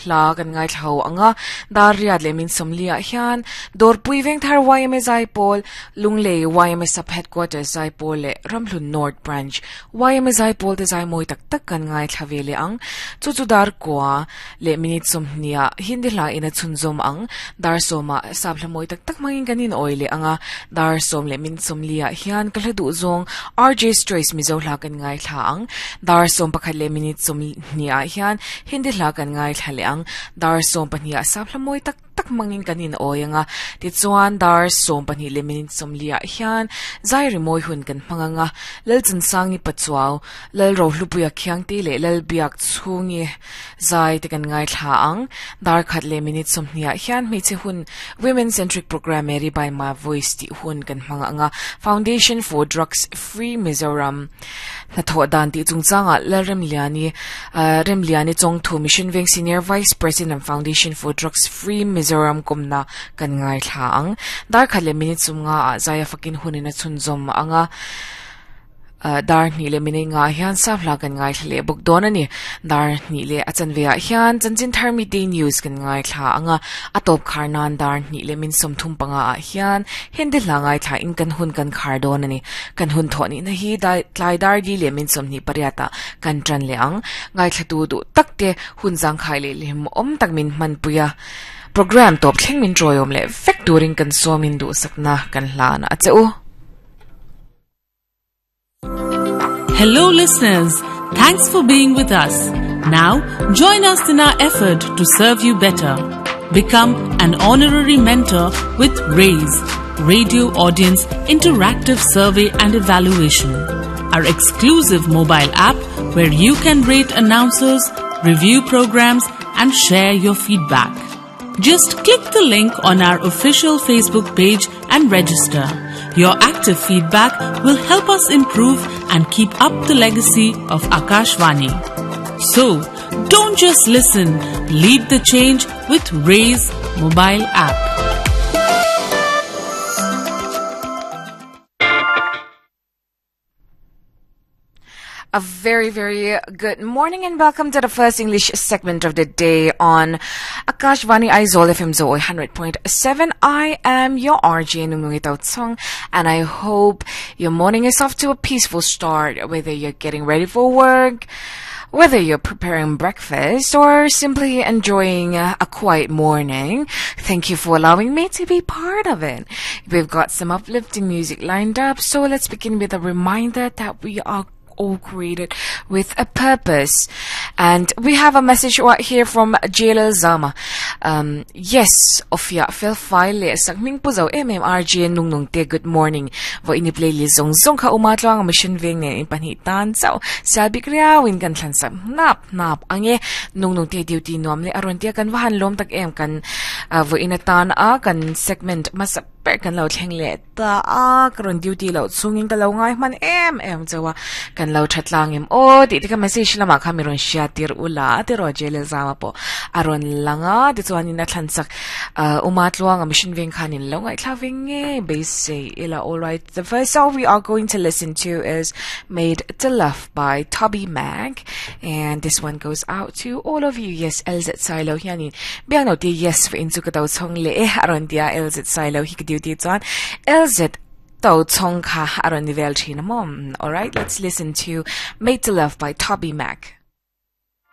hla kan ngaithla ho ang a, dar riat leh min sawmli ah hian Dawrpui Vengthar yma Zaipawl, Lunglei yma Sub Headquarters Zaipawl leh Ramhlun North Branch yma Zaipawl te zai mawi tak tak kan ngaithla ve leh ang. Chu chu dar kua leh minute sawmhnih ah Hindi hla in a chhunzawm ang. Dar sawmah sap hla mawi tak tak hmangin kan inawi leh ang a, dar sawm leh minute sawmli ah hian ka hla duh zawng RJ's Choice Mizo hla kan ngaithla ang. Dar 11 leh minute 20 ah hian Hindi hla kan ngaithla leh ang. Dar 12 ah sap hla mawi tak tak hmangin kan inawi ang a. Tichuan dar 12 leh minute 40 ah hian zai rimawi hun kan hmang ang a. Lalchansangi Pachuau, Lalrohlupuia Khiangte leh Lalbiak chhungi zai te kan ngaithla ang. Dar khat leh minute 20 ah hian hmeichhe hun Women Centric Programme Mary by My Voice tih hun kan hmang ang a. Foundation for Drugs Free Mizoram hnathawh dan tih chungchangah Lalremliani Remliani Chawngthu Mission Veng Senior Vice President Foundation for Drugs Free Mizoram kawmna kan ngaithla ang. Dar khat leh minute 50 ah zaia fakin hunin a chhunzawm ang a. Dar hnih leh minute ngah hian sap hla kan ngaithla leh bawk dawn a ni. Dar hnih leh a chanve ah hian chanchin thar midday news kan ngaithla ang a, a tawp khar nan dar hnih leh min 35 ah hian Hindi hla ngaithla in kan hun kan khar dawn a ni. Kan hun thawh nihna hi tlai dar li leh min 28 ah kan tan leh ang. Ngaithla tu duh tak te hun zangkhai leh hlimawm tak min hmanpui a, program tawp thleng min tawiawm leh vek turin kan sawmin duhsakna kan hlan a che u. Hello listeners, thanks for being with us. Now, join us in our effort to serve you better. Become an honorary mentor with RAISE, Radio Audience Interactive Survey and Evaluation, our exclusive mobile app where you can rate announcers, review programs and share your feedback. Just click the link on our official Facebook page and register. Your active feedback will help us improve and keep up the legacy of Akashvani. So, don't just listen, lead the change with Raise mobile app. A very, very good morning and welcome to the first English segment of the day on Akashvani Aizawl FM Zoe 100.7. I am your RJ Nungnungi Tochhawng and I hope your morning is off to a peaceful start, whether you're getting ready for work, whether you're preparing breakfast or simply enjoying a quiet morning. Thank you for allowing me to be part of it. We've got some uplifting music lined up, so let's begin with a reminder that we are all created with a purpose. And we have a message right here from Jalal Zama. Yes, Ofia fel file le sak ming pu zo MMRG nung nung te good morning. Vo ini playlist zong zong kha uma tluang mission veng ne in pahnih tan chau selbik riau in kan thlan sak nap nap ange nung nung te duty nuam le aron tia kan vahan lom tak em kan vo ina tan a kan segment masa per kan lo thleng le ta a ka rawn duty loh chungin ka lo ngai hman em em chauh a, kan lo tha tlang em aw tih te kha message lamah khan mi rawn hria tir ula tiraw Jailel Zama pawh a rawn lang a tichuanin a thlan chak Uma Tluanga mission veng khanin lo ngaihthlak ve ngei beisei ila alright the first song we are going to listen to is Made to Love by Toby Mac and this one goes out to all of you yes LZ Sailo hianin biang no ti yes fa in chu ka to chhong le e aron tia LZ Sailo hi ka duty chuan LZ to chhong kha aron ni vel thin mom alright let's listen to Made to Love by Toby Mac.